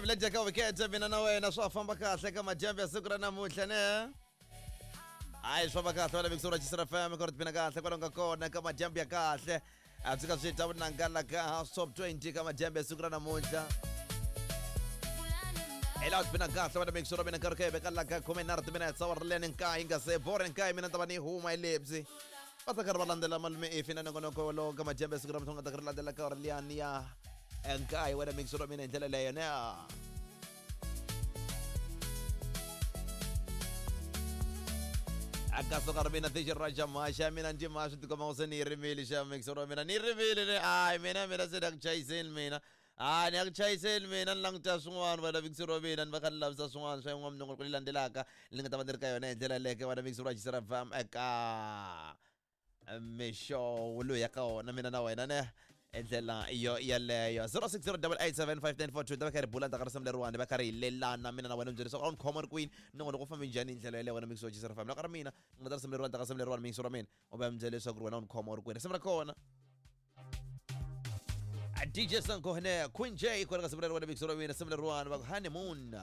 Village ka weekend mina na wena swa famba kahle ka madyambu ya siku ra namuntlha ne. Hayi, swi famba kahle wena Mixura Chisera FM ku ri tipina kahle kwalomu ka kona ka madyambu ya kahle. A byi ka swi ta vunanga la ka House Top 20 ka madyambu ya siku ra namuntlha. Ela tipina kahle wena Mixura mina nkarhi ka veka la ka 13 timinetse awara leni nkaye nga se bore nkaye mina ta va ni huma hi lebyi. Va ta karhi va landzela malume efi na nongonoko wolowo ka madyambu ya siku ra namuntlha nga ta karhi landzela ka awara liyani ya nkaye wena Mixura mina hi ndlela leyo ne. Akasuka ri mina tixi ra xamaxa mina ndzi ma swi tikomba se ni yi rimile xa mixer wa mina ni rimile ni hayi mina se ni ya ku chayiseni mina hayi ni ya ku chayiseni mina ni languta swin'wana wena mixer wa mina ni va kha ni lavisa swin'wana swa yin'wana minongonoko leyi landzelaka ni nga ta va ni ri ka yona hi ndlela yaleyo wena mixer wa Xisera FM eka mixo loyi ya ka wona mina na wena ne hi ndlela yo yeleyo 0608875942 ta va kha ri bula ndzhaku ka risimu leriwani va kha ri hi lelana mina na wena byela leswaku a wu ni khoma ri kwini nongonoko wu fambe njhani hi ndlela yeleyo wena mixo wa Xisera FM loko ri mina ni nga ta risimu leriwani ndzhaku ka risimu leriwani mixo ra mina u va mi byela leswaku ri wena u ni khoma u ri kwini risimu ra kona DJ Sankohne Queen J kwala ka simu leriwani mixo ra mina risimu leriwani va ku honeymoon.